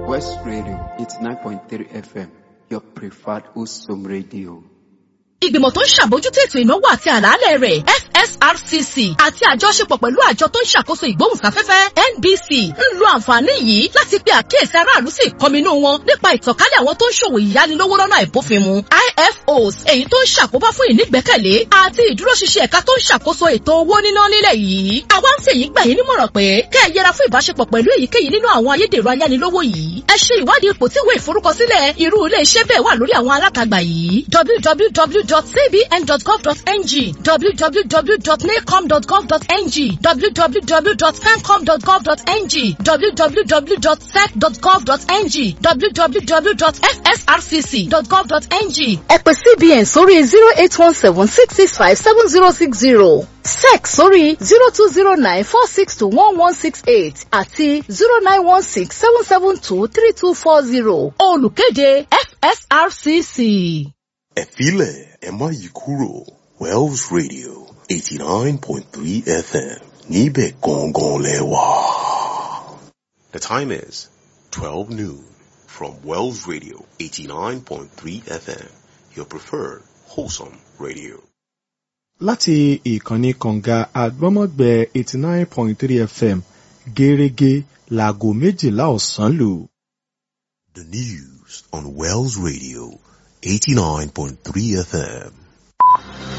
West Radio, it's 9.3 FM, your preferred Usum radio. Ìgbìmọ̀ tó ń ṣàbójútó ètò ìnáwó àti àlàálẹ̀ rẹ̀, FSRCC, àti àjọṣepọ̀ pẹ̀lú àjọ tó ń ṣàkóso ìgbóhùnsáfẹ́fẹ́, NBC, ń lo àǹfààní yìí láti pe àkíyèsí aráàlú sí ìkọminú wọn nípa ìtànkálẹ̀ àwọn tó ń ṣòwò ìyánilówó lọ́nà àìbófinmu, IFOs, èyí tó ń ṣàkóbá fún ìnígbẹ́kẹ̀lé àti ìdúróṣinṣin ẹ̀ka tó ń ṣàkóso ètò owó níná nílẹ̀ yìí. Àwa ń fèyí gbà yín nímọ̀ràn pé kẹ́ ẹ yẹra fún ìbáṣepọ̀ pẹ̀lú èyíkéyìí nínú àwọn ayédèrú ayánilówó yìí. Ẹ ṣe ìwádìí ipò tí ìwé ìforúkọsílẹ̀ irú ilé iṣẹ́ bẹ́ẹ̀ wà lórí àwọn alátagbà yìí: www.cbn.gov.ng, www.nacom.gov.ng, www.femcom.gov.ng, www.sec.gov.ng, www.fsrcc.gov.ng. Ẹ pè CBN sórí 08176657060, SEC sórí 02094621168 àti 09167723240. Olùkéde, FSRCC. Ẹ filẹ̀, ẹ má yí kúrò, Wells Radio 89.3 FM, níbẹ̀ gangan lẹ wà. The time is 12 noon from Wells Radio 89.3 FM, your preferred wholesome radio. Láti ìkànnì kànga àgbọ́mọ̀gbẹ́ 89.3 FM, gẹ́rẹ́gẹ́ láago 12 ọ̀sán lù. The news on Wells Radio 89.3 FM.